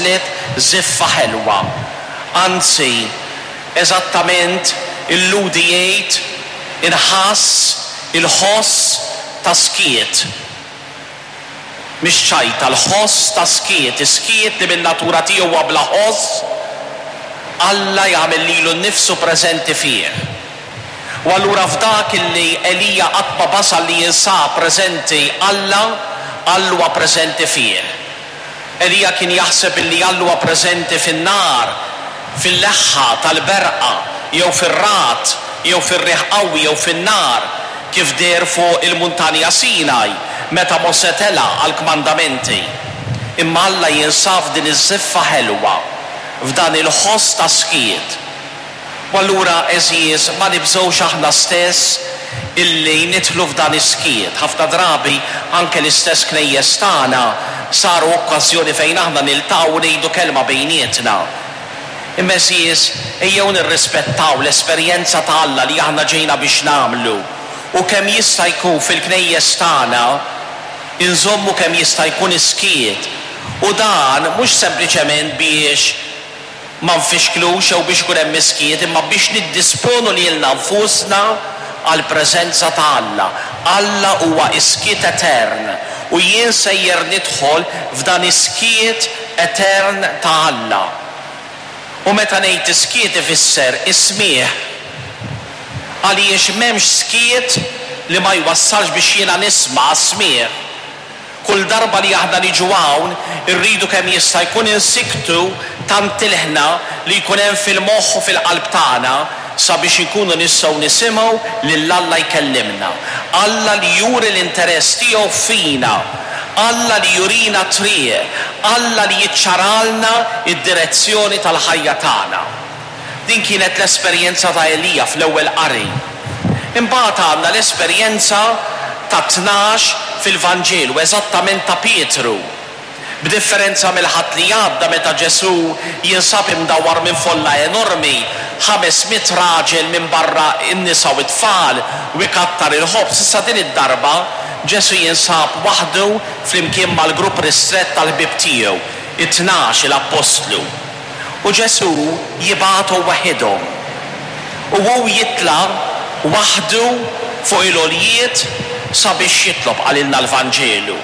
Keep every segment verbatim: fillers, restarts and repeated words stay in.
waslet żiffa ħelwa. Anzi, eżattament il-Lhudi jgħid inħass il-ħoss ta' skiet. Mhix ċajta, l-ħoss ta' skiet, is-skiet li min-natura tiegħu huwa bla ħoss, Alla jagħmel lilu nnifsu preżenti fih. U allura f'dak illi Elija qatt ma basal li jinsab preżenti Alla, Alla huwa preżenti fih. Elija kien jaħseb illi Alla huwa preżenti fin-nar, fil-leħħa tal-berqa, jew fir-ragħad, jew fir-riħ qawwi, jew fin-nar, kif deher fuq il-muntanja Sinaj meta Mosè tela' għall-kmandamenti. Imma Alla jinsab f'din iż-żiffa ħelwa, f'dan il-ħoss ta' skiet. U allura, għeżież, ma nibżgħux aħna stess illi nidħlu f'dan is-skiet. Ħafna drabi anke l-istess knejjes tagħna saru okkażjoni fejn aħna niltaqgħu u ngħidu kelma bejnietna. Imma għeżież, ejjew nirrispettaw l-esperjenza ta' Alla li aħna ġejna biex nagħmlu. U kemm jista' jkun fil-knejjes tagħna inżommu kemm jista' jkun is-skiet. U dan mhux sempliċement biex ma nfixklux jew biex ikun hemm is-skiet, imma biex niddisponu lilna nfusna għall-preżenza ta' Alla. Alla huwa is-skiet etern u jien sejjer nidħol f'dan is-skiet etern ta' Alla. U meta ngħid is-skiet ifisser is-smigħ. Għaliex m'hemmx skiet li ma jwassalx biex jiena nisma' għas-smigħ. Kull darba li aħna niġu hawn, irridu kemm jista' jkun insiktu tant ilħna li jkun hemm fil-moħħ u fil-qalb tagħna sabiex inkunu nistgħu nisimgħu lil Alla jkellimna. Alla li juri l-interess tiegħu fina, Alla li jurina triq, Alla li jiċċaralna id-direzzjoni tal-ħajja tagħna. Din kienet l-esperjenza ta' Elija fl-ewwel qari. Imbagħad għandna l-esperjenza ta' tnax fil-Vanġelu, eżattament ta' Pietru. B'differenza mill-Ħadd li għadda meta Ġesù jinsab imdawwar minn folla enormi, ħames mitt raġel minn barra n-nisa u t-tfal u ikattar il-ħobż, issa din id-darba Ġesù jinsab waħdu flimkien mal-grupp ristrett tal-ħbieb tiegħu, it-tnax il-appostlu. U Ġesù jibgħathom waħedhom. U hu jitla' waħdu fuq il-għoljiet sabiex jitlob, qalilna l-Vanġelu.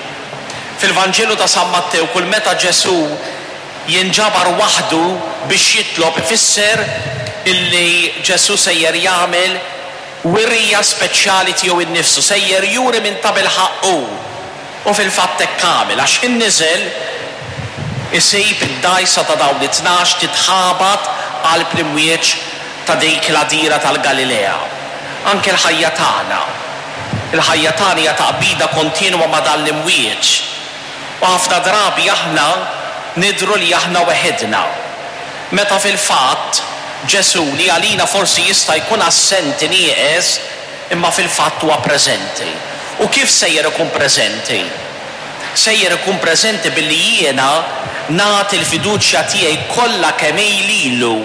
Fil-Vanġelu ta' San Mattew kull meta Ġesù jinġabar waħdu biex jitlob ifisser illi Ġesù sejjer jagħmel wirja speċjali tiegħu innifsu, sejjer juri minn ta' bilħaqq hu. U fil-fatt hekk għamel, għax ħin niżel isib id-dgħajsa ta' dawn it-tnax titħabat qalb l-imwieġ ta' dik l-għadira tal-Galilea. Anke l-ħajja tagħna. Il-ħajja tagħna hija taqbida kontinwa ma' dan l-imwieġ. U ħafna drabi aħna nidhru li aħna weħidna. Meta fil-fatt Ġesù li għalina forsi jista' jkun assenti nieqes, imma fil-fatt huwa preżenti. U kif sejjer ikun preżenti? Sejjer ikun preżenti billi jiena nagħti l-fiduċja tiegħi kollha kemm hi lilu.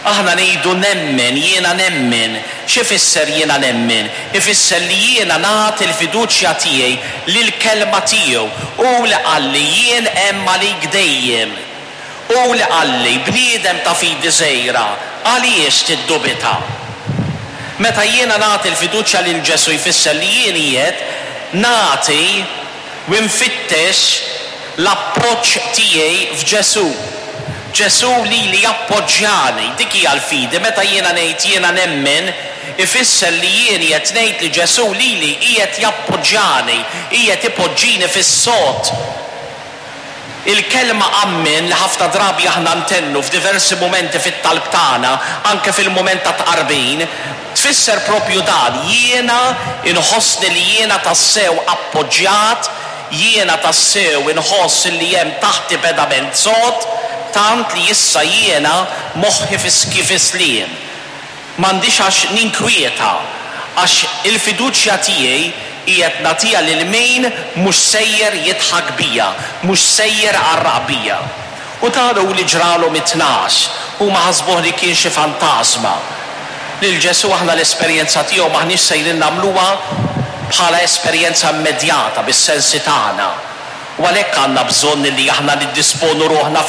Aħna ngħidu nemmen, jiena nemmen. X'ifisser jiena nemmen? Ifisser li jiena nagħti l-fiduċja tiegħi lill-kelma tiegħu. Hu li qalli jien hemm għalik dejjem. Hu li qalli bniedem ta' fidi żgħira, għaliex tiddubita? Meta jiena nagħti l-fiduċja lil Ġesù jfisser li jien qiegħed nagħti u nfittex l-appoġġ tiegħi f'Ġesù. Ġesù lili jappoġġjani, dik hija l-fidi. Meta jiena ngħid jiena nemmen, ifisser li jien qiegħed ngħid li Ġesù lili qiegħed jappoġġjani, qiegħed ipoġġini fis-sod. Il-kelma ammen li ħafna drabi aħna ntennu f'diversi mumenti fit-talb tagħna, anke fil-mument ta' tqarbin, tfisser propju dan, jiena inħossni li jiena tassew appoġġjat, jiena tassew inħoss li hemm taħti pedament sod, tant li issa jiena moħħi fis-sliem. M'għandix għax ninkwieta, għax il-fiduċja tiegħi qiegħed nagħtiha lil min mhux sejjer jidħak bija, mhux sejjer għarraq bija. U dan hu li ġralhom it-tnax, huma ħasbuh li kien xi fantasma. Lil Ġesù aħna l-esperjenza tiegħu m'aħniex sejrin nagħmluha bħala esperjenza immedjata bis-sensi tagħna. U għalhekk għandna bżonn li aħna niddisponu ruħna